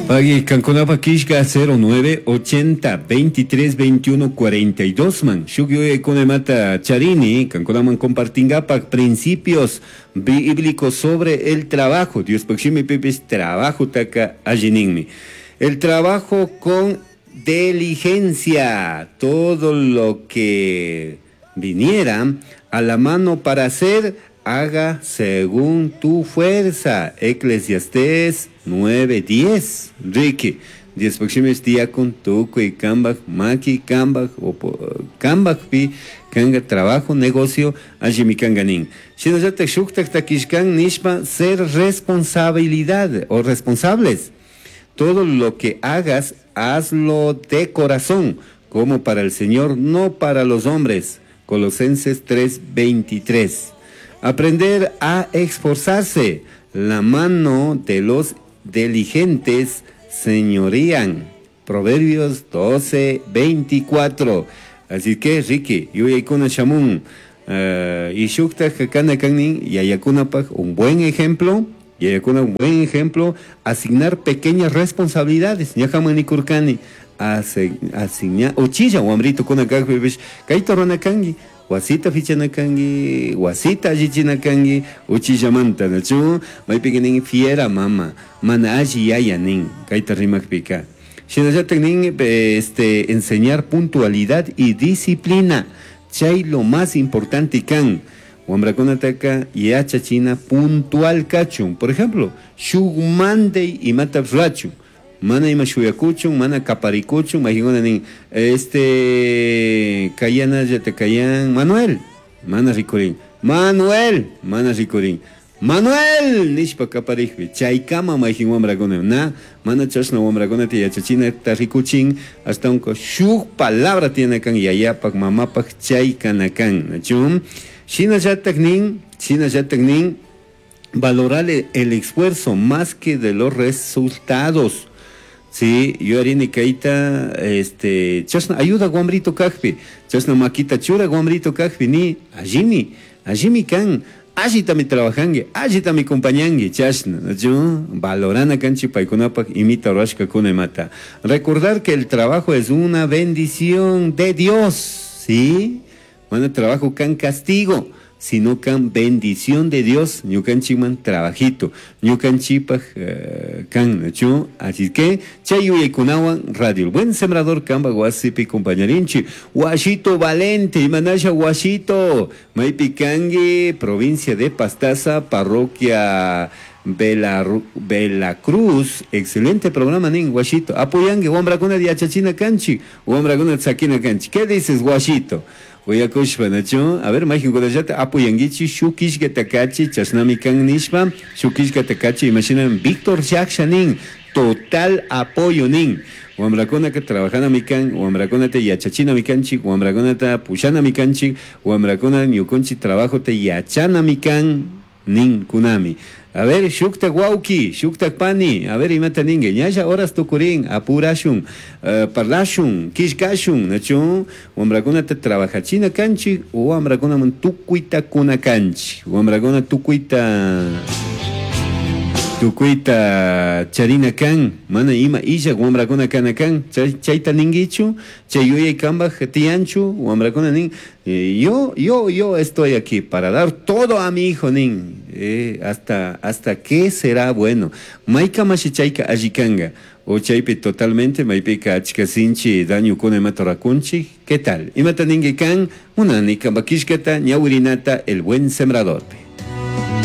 Pagui kankunapa kishka 09 80 23 21 42 man. Shuk yuyaykuna charini kankunaman compartingapak principios bíblicos sobre el trabajo. Dios shimipipis trabajo taka allininmi. El trabajo con diligencia, todo lo que viniera a la mano para hacer, haga según tu fuerza. Eclesiastés 9:10. Ricky. Dios pakshimis tiyakun tukuy kambaj maki kambaj o kambajpi kanga trabajo negocio allimi kanga nin. Shinallatak shuktak takishkan nishpa ser responsabilidad o responsables. Todo lo que hagas, hazlo de corazón, como para el Señor, no para los hombres. Colosenses 3:23. Aprender a esforzarse. La mano de los diligentes señorían. Proverbios 12:24. Así que, Ricky, yuyaykuna shamun. Y shuktak kana kannin yayakunapaj un buen ejemplo. Yayakuna un buen ejemplo, asignar pequeñas responsabilidades. Ñajaman nikurkani, asignar, uchilla wamrito kuna kajpipish, kayta rurana kanki, wasita fichana kanki, wasita allichina kanki, uchillamanta, nachu? Maypika nin fiera mama, mana alli yaya nin, kayta rimakpika. Shinallatak nin, enseñar puntualidad y disciplina. Chay lo más importante kan. Wamrakunataka yachachina puntual kachun. Por ejemplo, shuk mandey imata rurachun. Mana ima shuyakuchun, mana kaparikuchun, mayqinuna nin, kayana llata kayan Manuel, mana rikurin. Manuel, mana rikurin. Manuel nishpa kaparikpi, chaykama mayqin wamrakuna, na, mana chashna wamrakunata yachachinata rikuchin, ashtawanka shuk palabra tiene kan yayapak, mamapak, chay kana kan, nachu? Shinallatak nin, shinallatak nin, valorar el esfuerzo más que de los resultados. Sí, yo haría kaita, chashna ayuda wamrito kajpi, chashna makita chura wamrito kajpi, ni, allimi, allimi kan, allitami trabajangi, allitami compañangi, chashna, nachu? Valorana kanchi paykunapak imita rurashkakuna imata. Recordar que el trabajo es una bendición de Dios, ¿sí? Bueno, trabajo kan castigo, sino kan bendición de Dios, ñukanchikman trabajito, ñukanchipaj kan, nachu? Así que, chay yuyaykunawan radio, el buen sembrador kamba wasipi compañerinchi, Washito Valente, imanasha Washito, maypi kangi, provincia de Pastaza, parroquia Belacruz, excelente programa nin, Washito, apoyangue, wambrakuna yachachina kanchi, wambrakuna tzakina kanchi, ¿qué dices, Washito? Uyakushpa, nachu? A ver, mayqinkunallata apoyanguichi, shukishka takachi, chashnami kan nishpa, shukishka takachi, imaginan Víctor Yaksha nin, total apoyo nin. Wamrakunaka trabajanami kan, wamrakunata yachachinami kanchik, wamrakunata pushanami kanchik, wamrakuna ñukunchik trabajo te yachanami kan nin kunami. A ver, shuktak wauki, shuktak pani, a ver, imata ningue, ñalla horas tukurin, apurashun, parlashun, kishkashun, nachu, wamrakunata trabajachina kanchik, o wamrakunaman tukuyta kuna kanchik, wamrakuna tukuyta, tukuyta charina kan, mana ima illa wamrakuna kana kan, chayta ninguichu, chay yuyay kambaj tiyanchu, wamrakuna nin, yo estoy aquí para dar todo a mi hijo nin, hasta qué será bueno. Mayka mashi chayka allikanga, o chaypi totalmente maypika achka sinchi daño kuna imata rakunchik, ¿qué tal? Imata ningue kan, munani kambakishkata ñawirinata el buen sembrador.